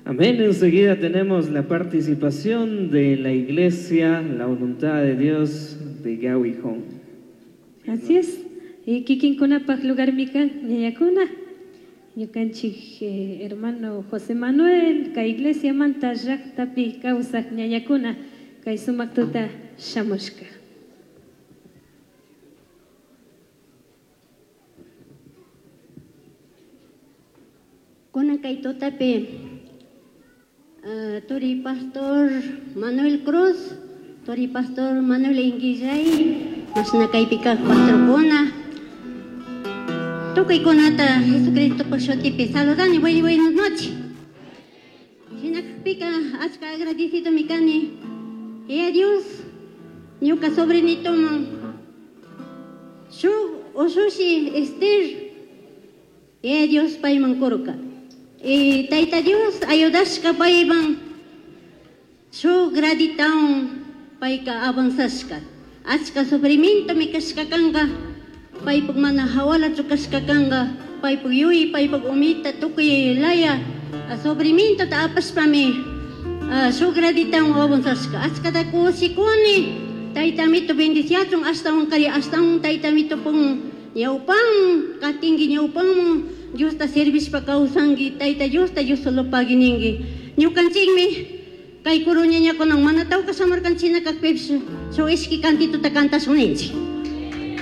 Amén. Enseguida tenemos la participación de la iglesia La Voluntad de Dios de Gawi Hong. Así es. Y kikinkunapaj lugarmi kan ñañakuna. Ñukanchik hermano José Manuel, kay iglesia manta llaqtapi kawsaq ñañakuna kay sumaq tuta shamushka. Kunan kay tutapi turi pastor Manuel Cruz, turi pastor Manuel Inguillay, mashna kaypi kaq pastorkuna, tukuykunata Jesucristo shutipi saludani, buenas noches. Shinakpika achka agradecido mi kani. Y a Dios, ñuka sobrinitoman shuk ushushi Esther, y a Dios payman kurka. Y Tayta Dios ayudashka payman shuk graditawan payka avanzashka. Achka sufrimiento mi kashka kanka, paypuk mana hawalachu kashka kanka, paypuk yuyi, paypuk umita tukuy laya sufrimiento ta apashpami shuk graditawan avanzashka. Achkata kushikuni, Tayta Amito bendiciachun, ashtawan kari, ashtawan Tayta Amito pun ñawpan, katinki ñawpanman, Diosta servishpa kawsanki, Tayta Diosta Dios solo pagui ninki. Ñukanchikmi kay kuru ñañakunan mana tawka shamarkanchina kakpipish shuk ishki cantituta kantashun ninchik.